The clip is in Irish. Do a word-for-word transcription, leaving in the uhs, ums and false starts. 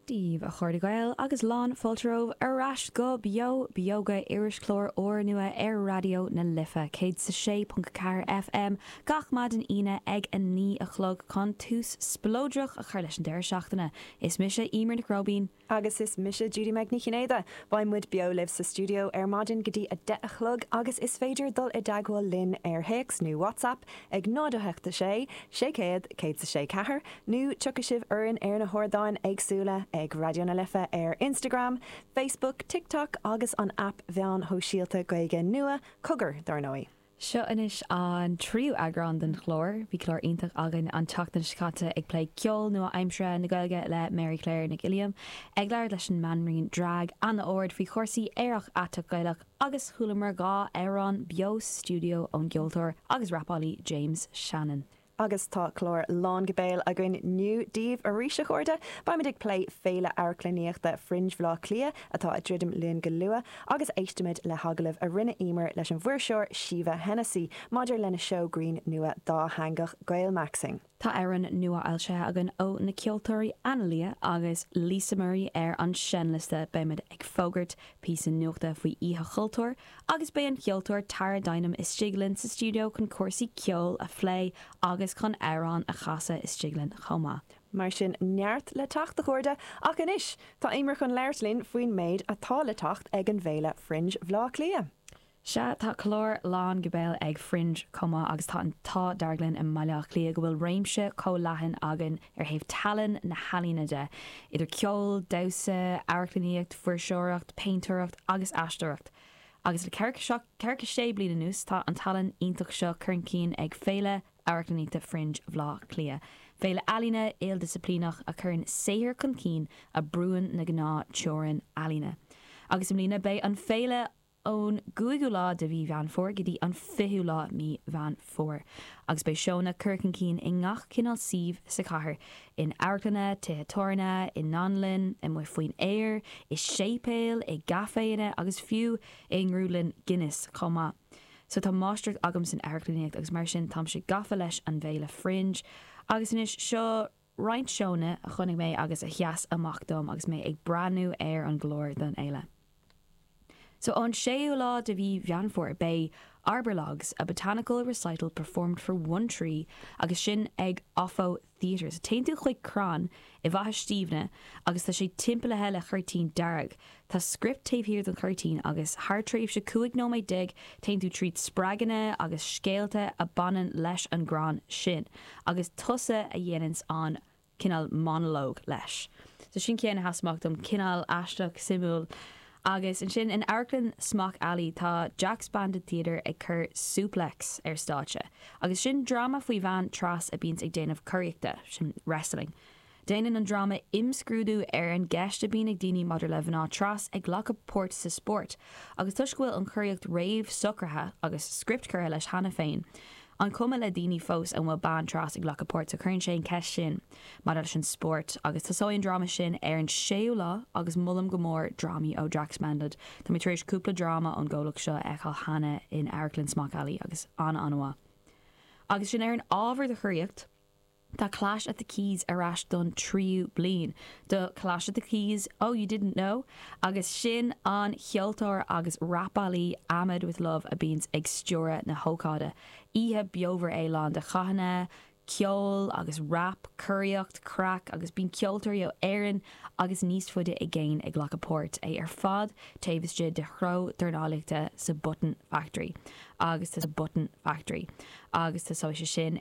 Daoibh a chairde Gael agus lán fáilte romhaibh ar ais go Beo Beoga irischlár úrnua ar Raidió na Life céad sa sé ponc ceathair FM gach maidin Aoine ag a naoi a chlog chun tús spleodrach a chur leis an deireadh seachtaine. Is mise Eimear Nic Róibín. Agus is mise Judy Meg Ní Chinnéide, Beidh muid beo libh sa stiúideo ar maidin go dtí a deich a chlog agus is féidir dul i dteagmháil linn ar théacs nó WhatsApp ag náid a hocht a sé, sé céad céad sa sé ceathair, nó tiocfaidh sibh orainn ar na hardáin éagsúla ag Raidió na Life ar Instagram, Facebook, TikTok agus an app meáin shóisialta Gaeilge nua Cogar dar ndóigh. Seo anois an tríú eagrán den chlár, bhí clár iontach againn an tseachtain seo caite ag plé ceol nua-aimseartha na Gaeilge le Mary Claire Nic Uilliam, ag labhairt leis an mbanríon drag Anna Ard faoi chúrsaí aerach aiteach Gaelach agus chualamar dhá amhrán beo stiúideo ón gceoltóir agus rapálaí James Shannon. Agus tá clár lán go béal againn inniu daoibh arís a chairde, Beimid ag plé féile amharclannaíochta Fringe Bhaile Átha Cliath atá ag druidim linn go luath, agus éistimid le hagallamh a rinne Eimear leis an bhfuirseoir Síomha Hennessy maidir lena seó grinn nua dátheangach Gaelmaxxing. Tá amhrán nua foilsithe againn ó na ceoltóirí Analia agus Lisa Murray ar an seinnliosta beimid ag fógairt píosa nuachta faoi Oíche Chultúir agus beidh an ceoltóir Tara Dynam istigh linn sa stiúideo chun cúrsaí ceoil a phlé agus chun amhrán a chasadh istigh linn chomh maith. Mar sin neart le teacht a chairde ach anois tá Eimear chun labhairt linn faoin méid atá le teacht ag an bhféile Fringe Bhaile Átha Cliath. Sea tá clár lán go béal ag Fringe chomh maith agus tá an t-ádh dearg linn i mBaile Átha Cliath go bhfuil réimse chomh leathan againn ar thaobh tallann na healaíona de, idir ceol, damhsa, amharclannaíocht, fuirseoireacht, péintéireacht agus aisteoireacht. Agus le ceathracha sé bliain anuas tá an tallann iontach seo chun cinn ag féile amharclannaíochta Fringe Bhaile Átha Cliath. Féile ealaíne ildisciplíneach a chuireann saothar chun cinn a bhrúnn na gnáth-theorainneacha ealaíne. Agus i mbliana beidh an féile ón gcúigiú lá de mhí Mheán Fómhair go dtí an fichiú lá mí Mheán Fómhair. Agus beidh seónna curtha chun cinn i ngach cineál suímh sa chathair, in amharclanna, tithe tábhairne, i ndánlann, amuigh faoin aer, i séipéil, i gcaiféanna agus fiú i ngrúdlann Guinness chomh maith. So tá máistreacht agam san amharclannaíocht agus mar sin táimse gafa leis an bhféile Fringe, agus anois seo roinnt seónna a chonaic mé agus a sheas amach dom agus mé ag breathnú ar an gclár don fhéile. So an séú lá de mhí Mheán Fómhair beidh Arborlogs, a botanical recital performed for one tree agus sin ag Offo Theatre. So téann tú chuig crann i bhFaiche Stiabhna agus tá sé timpeallaithe le cuirtín dearg. Tá script taobh thiar den chuirtín agus thar tréimhse cúig nóiméad déag téann tú tríd spreaganna agus scéalta a bhaineann leis an gcrann sin, agus tusa a dhéananns an cineál monologue leis. So sin ceann a sheas amach dom cineál aisteach suimiúil. Agus ansin in Amharclann Smock Alley tá Jack's Bandit Theatre ag cur suplex ar stáitse. Agus sin dráma faoi bhean tras a bhíonns ag déanamh coraíochta sin wrestling. Déanann an dráma imscrúdú ar an gceist a bhíonn ag daoine maidir le mná tras ag glacadh páirt sa spórt, agus toisc go bhfuil an chóiríocht réamhshocraithe agus script curtha leis cheana féin. An cuma le daoine fós an bhfuil bean tras ag glacadh páirt a chuireann sé an ceist sin maidir leis an spórt agus tosóidh an dráma sin ar an séú lá agus molaim go mór drámaí ó Jack's Bandit. Tá mé tar éis cúpla dráma ón gcomhlacht seo a fheiceáil cheana in Amharclann Smock Alley agus an-an-mhaith. Agus sin ar an ábhar de choraíocht, Tá Clash at the Keys ar ais don tríú bliain. Do Clash at the Keys, oh you didn't know, agus sin an ceoltóir agus rapálaí Ahmed with Love a bhíonns ag stiúradh na hócáide. Oíche bheomhar é lán de chathanna, ceol agus rap, curaíocht, craic agus bíonn ceoltóirí ó Éirinn agus níos faide i gcéin ag glacadh páirt é ar fad taobh istigh de chró dornálaíochta sa Button Factory agus sa Button Factory agus tosóidh sé sin